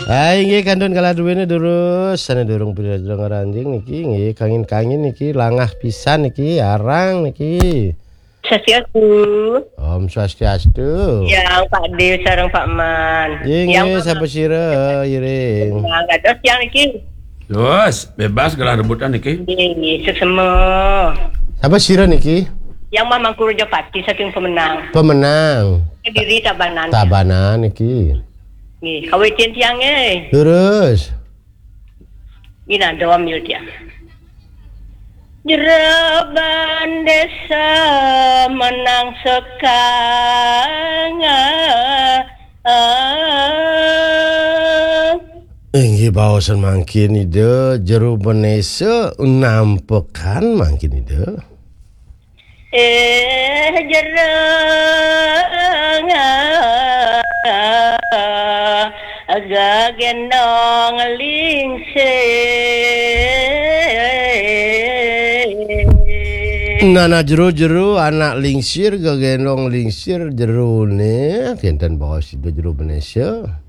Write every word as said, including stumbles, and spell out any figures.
Ah, inggih kantun kalah duwene durus, sane durung pira-pira ngranjing niki, nggih kangin-kangin niki, langah pisan niki, arang niki. Swastiastu. Om Swastiastu. Yang Pak De sareng Pak Man. Nggih, Yang nggih, Mama. Sapa sira, Iring? Nah, nggak ada yang niki. Terus, bebas galah rebutan niki. Nggih, nggih, suksema. Sapa sira niki? Yang Mamangku Rejapati saking Pemenang. Pemenang. Kediri Tabanan. Tabanan niki. Nggih, kawitin tiange. Terus. Ina doa mil tiang. Jeroban desa menang sekang. Inggih baosan mangkin Ida, jero benesa nampekan mangkin Ida. Eh, jero gagendong lingsir. Nana jero-jero anak lingsir, gagendong lingsir, jerone kenten baos Ida jero benesa.